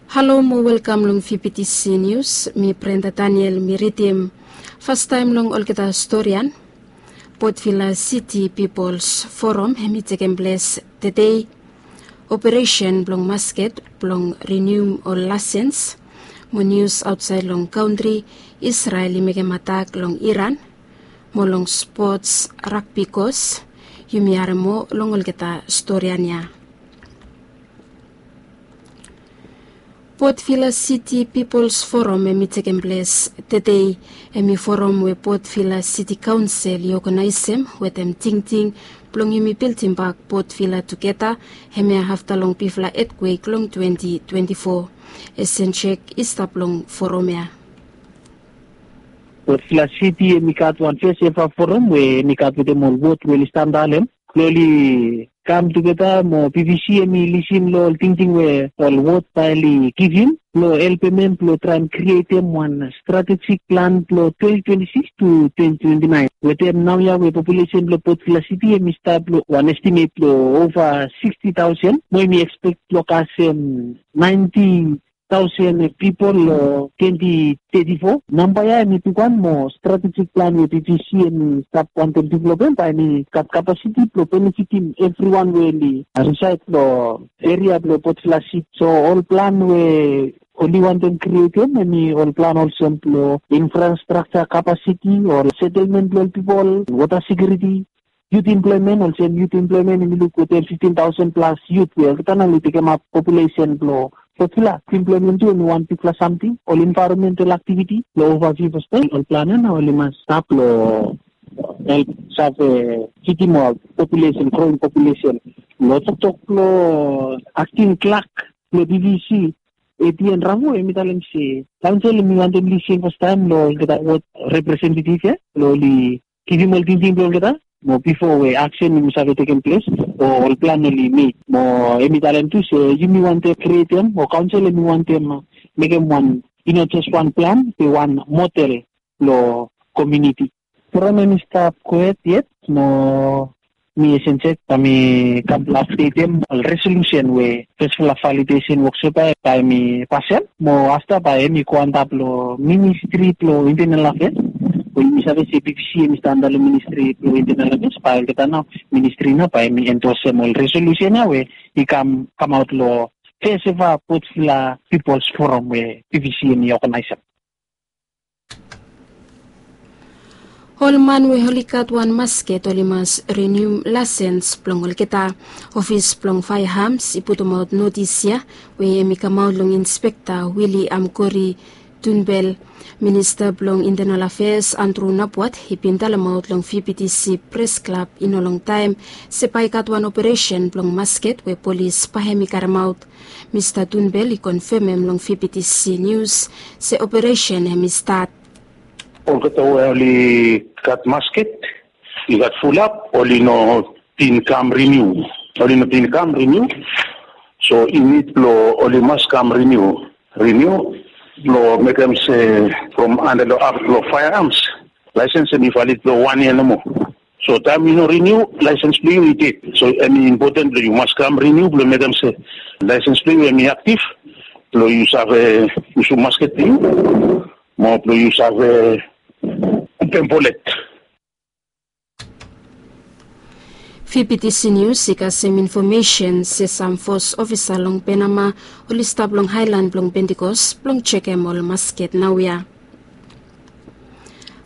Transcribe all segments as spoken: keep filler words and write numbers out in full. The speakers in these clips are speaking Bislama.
Halo mo welkam long V B T C News, mi Brenda Daniel mi ridim. Fastaem long olgeta storian, Port Vila City People's Forum hemi tekem ples tedei. Operesen blong masket blong rinium ol laisens. Mo nius aotsaed long kantri, Israel i mekem atak long Iran. Mo long spots, ragbi kos. Yumi harem moa long olgeta storian ya. Port Vila City People's Forum hemi tekem ples tedei. Hemi forum we Port Vila City Kaonsel i oganaesem wetem tingting blong yumi bildimbak Port Vila tugeta, hemia afta long bigfala etkwek long twenti twenti fo. Esen Jek i stap long forum ya. Port Vila City hemi gat wan fes eva forum we hemi gat wetem ol wod we oli stap antap long hem. Oli kam tugeta mo B V C hemi lisin long ol tingting we ol wod bae oli givim blong helpem hem blong traem krietem wan strategic plan blong twenti twenti sikis tu twenti twenti naen. Wetem naoia we populesen blong Port Vila City hemi stap long wan estimet blong ova siksti taosen mo hemi ekspek blong kasem naenti taosen pipol long twenti teti fo. Namba ya hemi bigwan mo strategic plan we B V C hemi stap wantem developem bae hemi gat kapasiti blong benefitim evriwan we oli risaed long eria blong Port Vila City. So ol plan we oli wantem krietem hemi ol plan olsem blong infrastructure kapasiti, ol setelmen blong ol pipol, wota sekiuriti, youth employment, olsem youth employment hemi luk wetem fiftin taosen plas youth we olgeta nao oli tekemap populesen blong Port Vila. Employment tu hemi wan bigfala samting. Ol environmental activity long ova fifti pasent. Ol plan ya nao oli mas stap long help save fidim ol populesen, growing populesen. Long toktok blong acting clerk blong B V C, Etienne Ravo, hemi talem se kaonsel hemi wantem lisin fastaem long olgeta wod representetiv ya blong oli givim ol tingting blong olgeta mo bifo we aksen hemi save tekem ples o ol plan oli mek. Mo hemi talem tu se yumi wantem krietem o kaonsel hemi wantem mekem wan, i no jes wan plan be wan model long komuniti. Forum hemi stap gohed yet mo mi Esen Jek bae mi kam blong apdetem ol resolusen we fesfala validesen woksop ya bae hemi pasem mo afta bae hemi go antap long Ministri blong Intenal Afeas. We yumi save se B V C hemi stap antap long Ministri blong Intenal Afeas, bae olgeta nao ministri nao bae hemi endosem ol resolusen ya we i kam, kamaot long fes eva Port Vila People's Forum we B V C hemi oganaesem. Ol man we oli gat wan masket oli mas rinium laesens blong olgeta. Ofis blong faeams i putumaot notis ya we hemi kamaot long Inspekta William Kori Tunbel. Minista blong Intenal Afeas Andrew Napwat i bin talemaot long V B T C Pres Klab i no longtaem se bae i gat wan operesen blong masket we polis bae hemi karemaot. Mista Tunbel i konfemem long V B T C Nius se operesen hemi stat. Olgeta we oli gat masket i gat fulap, oli no bin kam riniu. Oli no bin kam riniu. So i nid blong oli mas kam riniu. Riniu blong mekem se from anda long ap blong faeams, laesens hemi valid blong wan yia nomo. So taem yu no riniu, laesens blong yu i ded. So hemi impoten blong yu mas kam riniu blong mekem se laesens blong yu hemi aktiv blong yu save yusum masket blong yu mo blong yu save open bolet. V B T C Nius i kasem infomesen se sam fos ofisa long Penama oli stap long haelan blong Pentikos blong jekem ol masket naoia.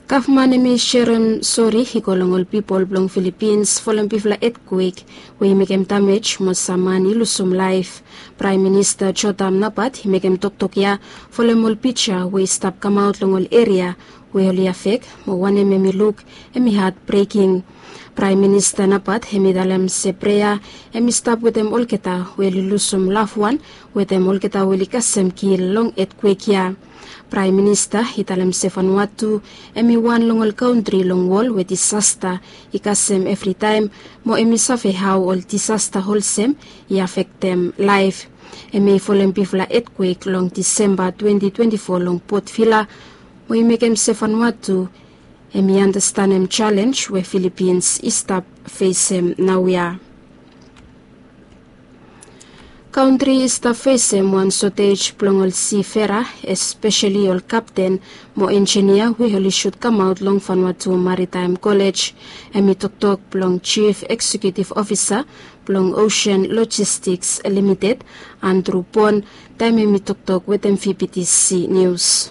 Gavman hemi serem sori i go long ol pipol blong Filipins folem bigfala etkwek we i mekem damej mo sam man i lusum laef. Praem Minista Jotam Napat i mekem toktok ya folem ol pija we i stap kamaot long ol eria we oli afek mo wanem hemi luk hemi hatbreking. Praem Minista Napat hemi talem se prea hemi stap wetem olgeta we oli lusum lafwan wetem olgeta we oli kasem kil long etkwek ya. Praem Minista i talem se Vanuatu hemi wan long ol kantri long wol we disasta i kasem evritaem mo hemi save hao ol disasta olsem i afektem laef. Hemi folem bigfala etkwek long Disemba twenti twenti fo long Port Vila mo i mekem se Vanuatu hemi andastanem jalenj we Filipins i stap fesem naoia. Kantri i stap fesem wan sotej blong ol sifera, espeseli ol kapten mo enjinia we oli sud kamaot long Vanuatu Maritime College. Hem i toktok blong Chief Executive Officer blong Ocean Logistics Limited, Andrew Pon, taem hem i toktok wetem V P T C News.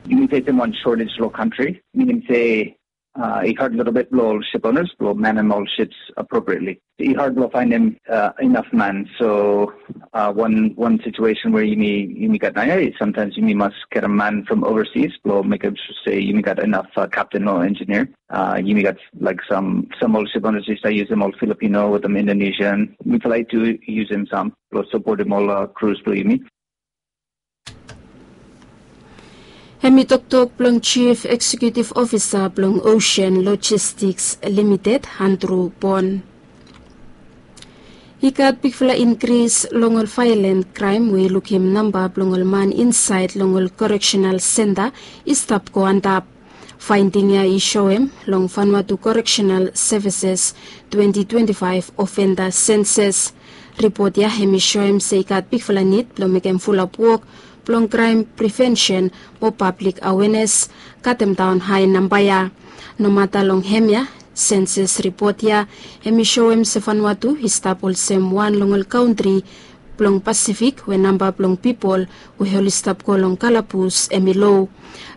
Yumi fesem wan shortage lo kantri, minim se uh, i had little bit blong ol ship owners blong manem ol ships appropriately. I had blong faenem uh, enough man. So uh, one one situation where yumi yumi gat naoia is sometimes yumi mas get a man from overseas blong mekem sure se yumi gat enough uh, captain or engineer. Uh, yumi gat like some some ol ship owners i stap yusum ol Filipino wetem Indonesian. Mi try to yusum sam blong sapotem ol uh, crews blong yumi. Hem i toktok blong Chief Executive Officer blong Ocean Logistics Limited, Andrew Pon. I gat bigfala inkris long ol vaelan kraem we i lukim namba blong ol man insaed long ol koreksenal senta i stap go antap. Faending ya i soem long Vanuatu Correctional Services twenty twenty-five Offender Census. Ripot ya hem i soem se i gat bigfala nid blong mekem fulap wok blong kraem prevensen mo pablik awenes, katemdaon hae namba ya. Nomata long hemia, sensus ripot ya hem i soem se Vanuatu i stap olsem wan long ol kantri blong Pasifik we namba blong pipol we oli stap go long kalabus hem i lo.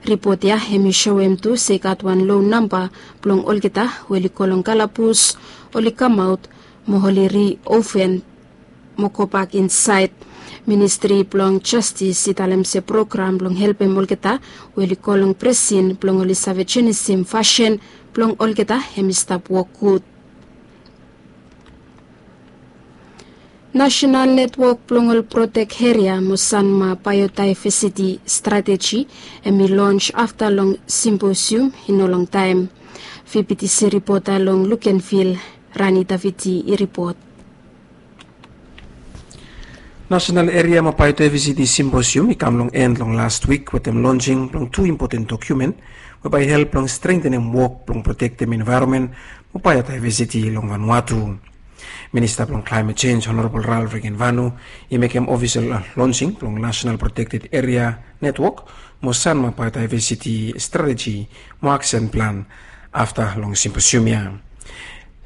Ripot ya hem i soem tu se i gat wan lo namba blong olgeta we oli go long kalabus, oli kamaot mo oli riofen mo gobak insaed. Ministri blong Jastis i talem se program blong helpem olgeta we oli go long prisin blong oli save jenisim fasin blong olgeta hem i stap wok gud. Nasenal netwok blong ol protek eria mo sanma baeodaevesiti strateji hem i lons afta long simposium i no longtaem. V P T C ripota long Lukenvil, Rani Daviti i ripot. Nasenal Eria mo Baeodaevesiti Simposium i kam long en long las wik wetem lonsing blong tu impoten dokumen we bae i help long strentenem wok blong protektem envaeronmen mo baeodaevesiti long Vanuatu. Minista blong Klaemet Jenj, Honorabol Ralph Regenvanu, i mekem ofisel lonsing blong Nasenal Protekted Eria Netwok mo sanma baeodaevesiti strateji mo aksen plan afta long simposium ya.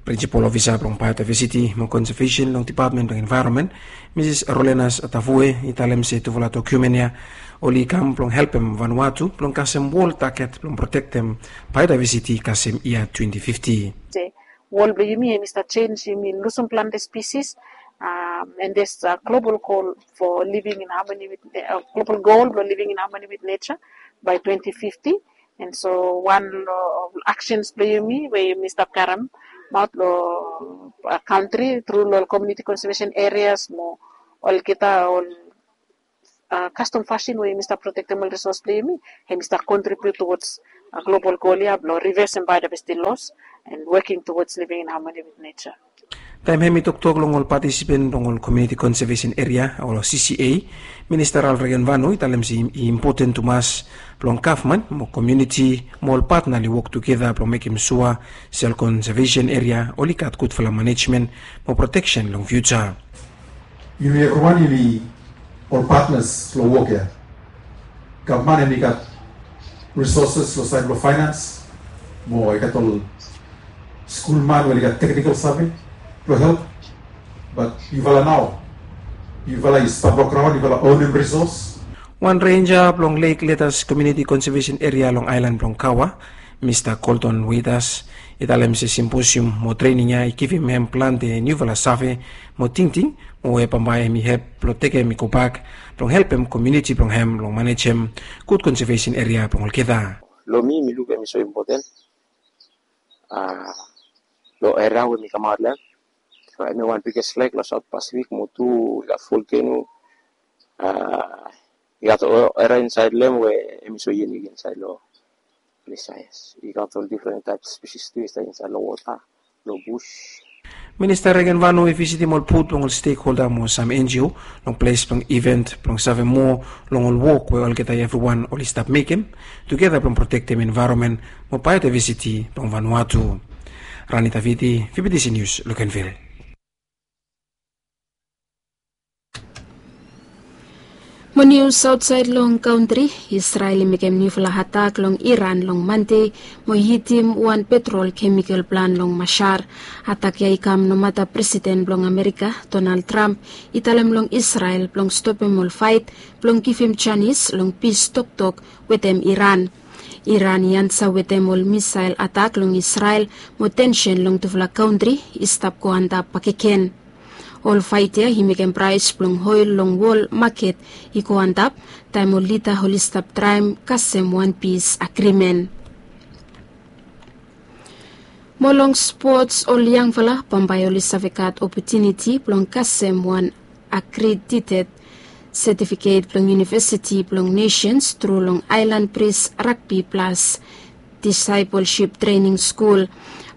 Prinsipol ofisa blong baeodaevesiti mo konsevesen long Depatmen blong Envaeronmen, Misis Rolenas Tavue, i talem se tufala dokumen ya oli kam blong helpem Vanuatu blong kasem wol taget blong protektem baeodaevesiti kasem yia twenti fifti. Wol blong yumi hem i stap jenj, yumi lusum plante spisis, and there's a global goal for living in harmony with, uh, global goal blong living in harmony with nature by twenty fifty. And so wan long aksens blong yumi we yumi stap karemaot long kantri tru long ol community conservation areas mo olgeta ol kastom fasin we yumi stap protektem ol resource blong yumi, hem i stap contribute towards global goal ya blong reversing biodiversity loss and working towards living in harmony with nature. Taem hem i toktok long ol patisipen blong ol Community Conservation Area o C C A, Minista Ralph Regenvanu i talem se i impoten tumas blong gavman mo komuniti mo ol patna oli wok tugeta blong mekem sua se ol konsevesen eria oli gat gudfala manejmen mo proteksen long fiuja. Yumi evriwan yumi ol patnas long wok ya. Gavman hem i gat risoses long saed blong faenans mo i gat ol skulman we oli gat teknikol save blong help. Bat yufala nao, yufala i stap long graon, yufala onem risos. Wan renja blong Lake Letas Community Conservation Eria long aelan blong Kawa, Mista Colton Withers, i talem se simposium mo trening ya i givim hem plante niufala save mo tingting mo we bambae hem i hep blong tekem i gobak blong helpem komuniti blong hem long manejem gud konsevesen eria blong olgeta. Long mi, mi luk hem i so impoten long eria we mi kamaot long hem. Hem i wan biges lek long Saot Pasifik mo tu i gat volkeno. I gat eria insaed long hem we hem i so yunik insaed long ples ya. I gat ol difren taep spisis tu i stap insaed long wota, long bus. Minista Regenvanu i visitim ol booth blong ol stekholda mo sam N G O long ples blong iven blong save moa long ol wok we olgeta evriwan oli stap mekem tugeta blong protektem envaeronmen mo baeodaevesiti blong Vanuatu. Rani Taviti, V P T C News, Lukenvil. Mo nius aotsaed long kantri. Israel i mekem niufala atak long Iran long Mande mo i hitim wan petrol kemikal plan long Mashhad. Atak ya i kam nomata Presiden blong Amerika, Donald Trump, i talem long Israel blong stopem ol faet blong givim janis long pis toktok wetem Iran. Iran i ansa wetem ol misael atak long Israel mo tensen long tufala kantri i stap go antap bakegen. Ol faet ya i mekem praes blong oel long wol maket i go antap taem ol lida oli stap traem kasem wan pis agrimen. Mo long spots, ol yangfala bambae oli save gat opotuniti blong kasem wan akredited setifiket blong Yunivesiti blong Nesens tru long Aelan Pris Ragbi Plas Disaepolsip Trening Skul.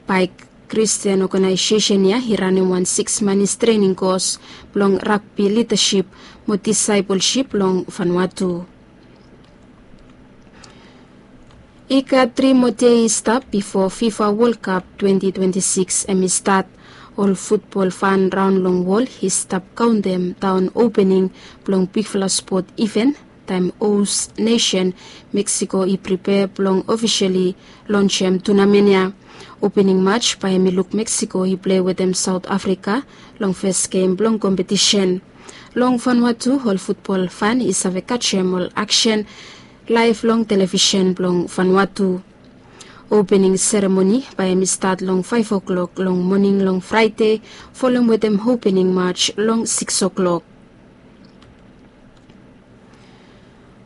Bae Kristian oganaesesen ya i ranem wan siks manis trening kos blong ragbi lidasip mo disaepolsip long Vanuatu. I gat tri moa dei i stap bifo FIFA Wol Kap twenti twenti sikis hem i stat. Ol futbol fan raon long wol i stap kaontem daon opening blong bigfala spot iven taem hos nesen Meksiko i pripea blong ofisali lonsem tunamen ya. Opening maj bae hem i luk Meksiko i plei wetem Saot Afrika long fes gem blong kompetisen. Long Vanuatu ol futbol fan i save kajem ol aksen laef long televisen blong Vanuatu. Opening seremoni bae hem i stat long faef oklok long moning long Fraede, folem wetem opening maj long siks oklok.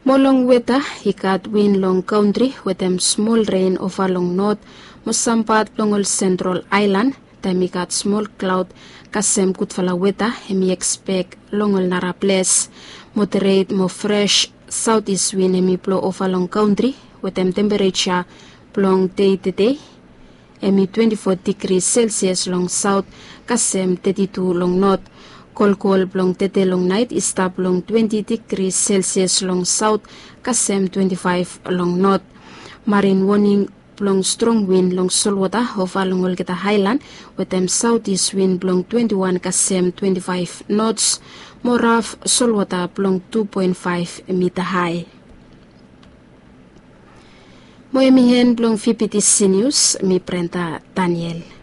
Mo long weta, i gat win long kantri wetem smol ren ova long not mo sam pat blong ol sentral aelan. Taem i gat smol klaod kasem gudfala weta hem i ekspek long ol nara ples. Moderet mo fres saotis win hem i blo ova long kantri wetem tempereja blong dei tedei hem i twenti fo digri selsias long saot kasem teti tu long not. Kolkol blong tede long naet i stap long twenti digri selsias long saot kasem twenti faef long not. Marin woning blong strong win long solwota ova long olgeta aelan wetem saotis win blong twenti wan kasem twenti faef nots mo raf solwota blong tu poen faef mita hae. Mo hem i en blong VBTC Nius, mi Brenda Daniel.